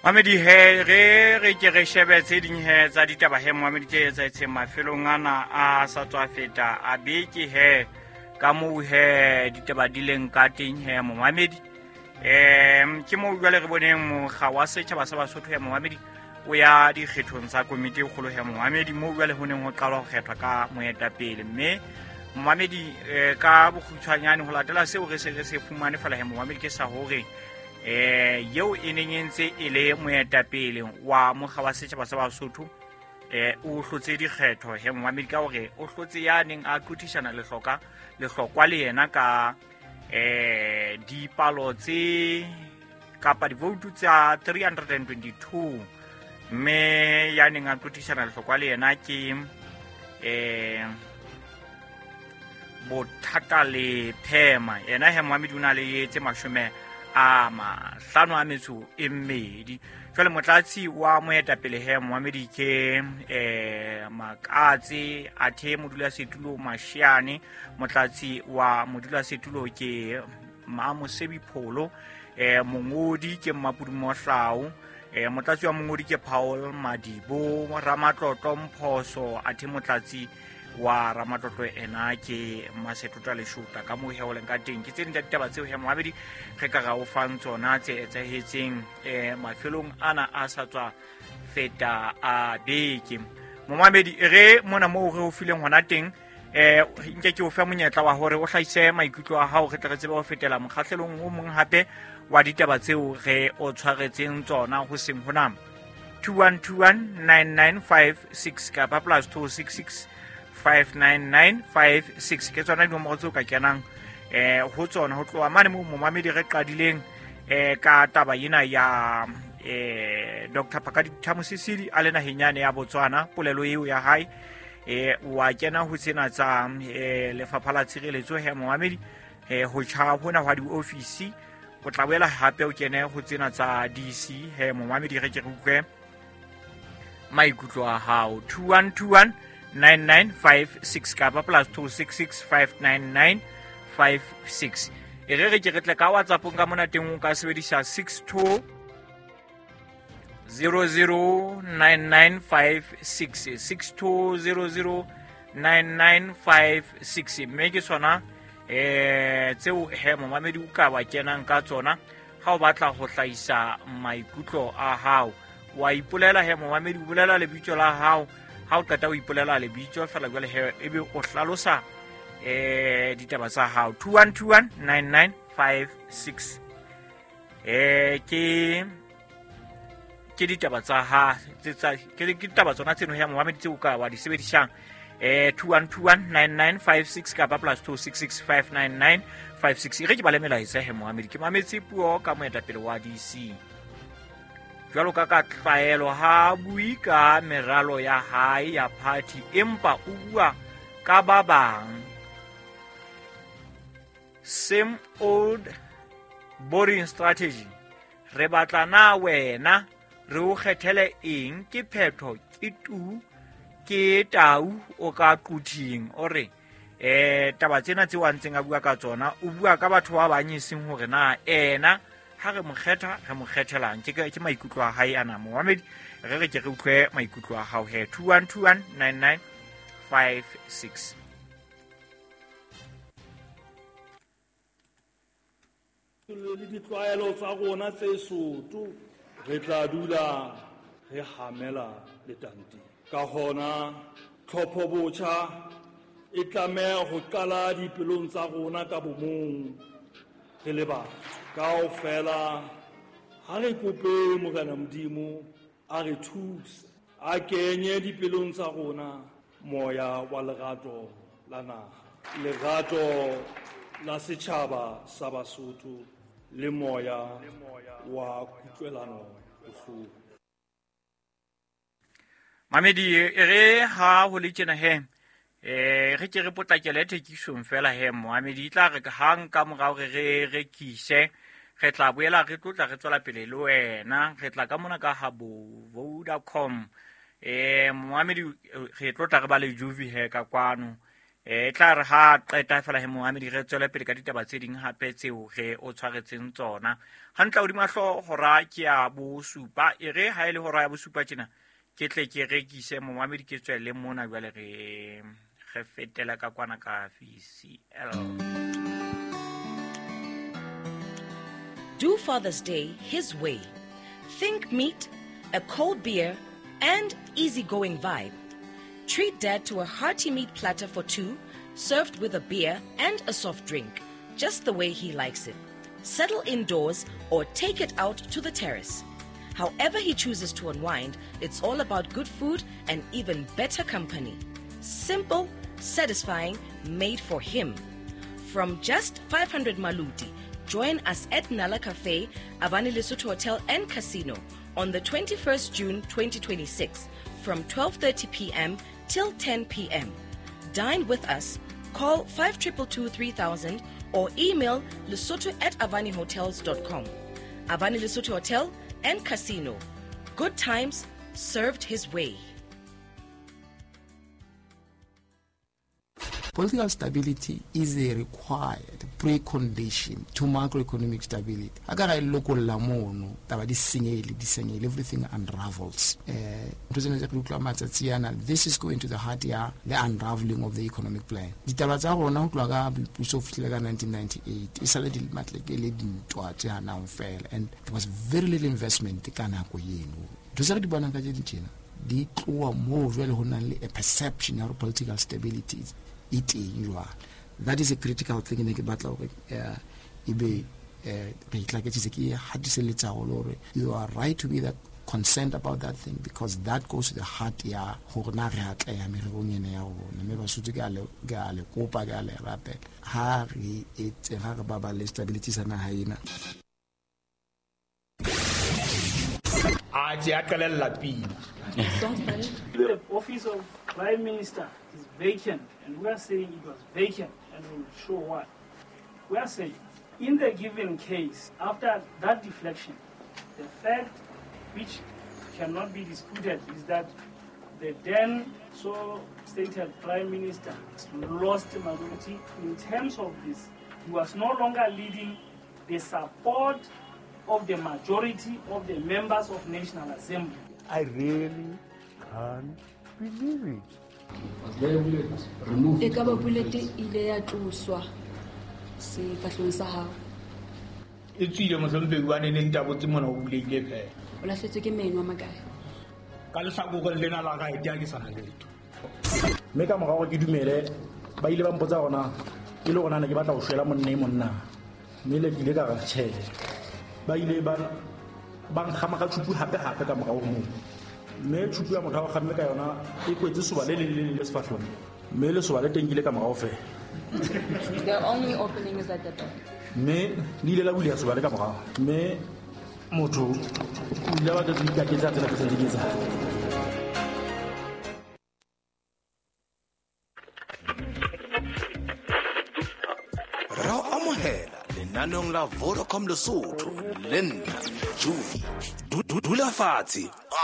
Mamedi he re re ke re shebe tse ding he tsa ditaba he momamedi tse etsahetseng mafelong ana a sa tswa feta a beke he ka moo he ditaba di leng ka teng he momamedi. Ke moo jwale re boneng mokga wa setjhaba sa Basotho he momamedi o ya dikgethong tsa komiti e kgolo he momamedi, moo jwale ho neng ho qalwa ho kgethwa ka moetapele. Mme momamedi ka bokgutshwanyane ho latela seo re se re se fumane fela he momamedi ke sa hore eo e neng e ntse e le moetapele wa mokga wa setjhaba sa Basotho o hlotse dikgetho he momamedi ka hore o hlotse ya neng a qothisana lehlokwa le yena ka dipalo tse kapa divoutu tsa 322, mme ya neng a qothisana lehlokwa le yena ke Bothata le Phema. Yena he momamedi o na le tse 52. Jwale motlatsi wa moetapele he momamedi ke Makatse, athe modulasetulo Mashiane, motlatsi wa modulasetulo ke Mamosebi Pholo, mongodi ke Mmapudu Mohlau, motlatsi wa mongodi ke Paul Madibo, Ramatlotlo Mphoso, athe motlatsi wa Ramatlotlo ena ke Masetota Leshota. Ka moo he o leng ka teng ke tse ding tsa ditaba tseo he momamedi re ka ra o fang tsona tse etsahetseng mafelong ana a sa tswa feta a beke. Momamedi re mona moo re o fileng hona teng, nke ke o fe monyetla wa hore o hlahise maikutlo a hao, re tle re tsebe ho fetela mokgahlelong o mong hape wa ditaba tseo re o tshwaretseng tsona ho seng hona. 21219956 kapa plus 266 59956 ke tsona dinomoro tseo ka kenang ho tsona ho tloha mane moo momamedi re qadileng ka taba ena ya Dr. Phakadi Thamosisili a le naheng yane ya Botswana, polelo eo ya hae wa kena ho tsena tsa lefapha la tshireletso he momamedi, ho tjha hona hwa diofisi, o tla boela hape o kene ho tsena tsa DC he momamedi, re ke re utlwe maikutlo a hao. 21219956 kapa plus 266 59956. E re re ke re tle ka WhatsAppong ka mona teng, o ka sebedisa 62 009956, 62009956, mme ke sona tseo he momamedi o ka wa kenang ka tsona ha o batla ho hlahisa maikutlo a hao. Wa ipolela he momamedi, o bolela lebitso la hao, ha o qeta o ipolela lebitso fela jwale he ebe o hlalosa ditaba tsa hao. 21219956 ke ditaba tsa ha tsa ke ditaba tsona tseno he momamedi tseo ka wa di sebedisang, 21219956 kapa plus 266 59956. E re ke bale melaetsa he momamedi. Ke mametse puo ka moetapele wa DC. Jwalo ka tlwaelo ha bue ka meralo ya hae ya party, empa o bua ka ba bang. Same old boring strategy. Re batla na wena re o kgethele eng? Ke phetho ke tu ke tau o ka quthing. O re taba tsena tseo a ntseng a bua ka tsona, o bua ka batho ba bang, e seng hore na ena ha re mo kgetha re mo kgethelang. Ke maikutlo a hae ana momamedi, re re ke re utlwe maikutlo a hao he. 21219956. Le ditlwaelo tsa rona tse soto, re tla dula re hamela letanteng. Ka hona tlhopho botjha e tlameha ho qala dipelong tsa rona ka bomong re le batho kaofela. Ha re kope Morena Modimo a re thuse, a kenye dipelong tsa rona moya wa lerato la naha, lerato la setjhaba sa Basotho le moya wa kutlwelano bohloko. Mamedi, e re ha ho le tjena he re ke re potlakele thekisong fela he momamedi, e tla re hang ka morao re re rekise, re tla boela re tlotla re tswela pele le wena, re tla ka mona ka ha bo Vodacom. Momamedi, re tlotla re ba le Juvi he ka kwano. Tla re ha qeta fela he momamedi re tswele pele ka ditaba tse ding hape tseo re o tshwaretseng tsona. Hantle hodima hlooho hora ke ya bosupa, e re ha e le hora ya bosupa tjena ke tle ke rekise momamedi ke tswele mona jwale re fetela ka kwana ka VCL. Do Father's Day his way. Think meat, a cold beer, and easygoing vibe. Treat Dad to a hearty meat platter for two, served with a beer and a soft drink, just the way he likes it. Settle indoors or take it out to the terrace. However he chooses to unwind, it's all about good food and even better company. Simple, satisfying, made for him. From just 500 maluti, join us at Nala Cafe, Avani Lesotho Hotel and Casino on the 21st June 2026 from 12:30 p.m. till 10 p.m. Dine with us, call 5222 3000 or email lesotho@avanihotels.com. Avani Lesotho Hotel and Casino. Good times served his way. Political stability is a required precondition to macroeconomic stability. Akara lokolla mono taba di senyehile, everything unravels. This is going to the heart ya the unraveling of the economic plan. Ditaba tsa rona ho tloha ka boipuso ho fihlela ka 1998 e sale di matleke le dintwa tse hanang fela, and there was very little investment ka nako eno. Ntho tse re di bonang ka tse tjena di tloha moo jwale ho nang le a perception ya political stability e teng jwale. That is a critical thing ne ke batla hore ebe re itlaketsitse ke hatiselletsa haholo hore you are right to be that concerned about that thing, because that goes to the heart ya hore na re atleha mererong ena ya rona. Mme Basotho ke a le kopa, ke a le rapela, ha re etse ha re baballe stability sa naha ena. A tse a qalella pina. The office of Prime Minister is vacant, and we are saying it was vacant, and we will show why. We are saying, in the given case, after that deflection, the fact which cannot be disputed is that the then so stated Prime Minister lost majority. In terms of this, he was no longer leading the support of the majority of the members of National Assembly. I really can't believe it. E ka ba bullet ile ya tloswa sefahlehong sa hao. E tswile mohlomphehi wa neng tabotse mona o buleile fela. O lahletswe ke meno a makae? Ka lehlakoreng lena la right ha ke sana letho. Mme ka morao ke dumele ba ile ba mpotsa hore e le hore na ke batla ho shwela monna e monna. Mme le ke ile ka re tjhe. Ba ile ba nkgama ka tjhupu hape hape ka morao moo. Mme tjhupu ya motho a kgamme ka yona e kwetse soba le leng le leng le sefahlehong. Mme lesoba le teng ke ile ka morao fela. The only opening is at the back. Mme le ile la buleha soba le ka morao. Mme motho o ile a batla ho ikaketsa tsela ke sentse ke etsa. Ra o amohela lenaneong la Vodacom Lesotho le nna Juvie. Dula fatshe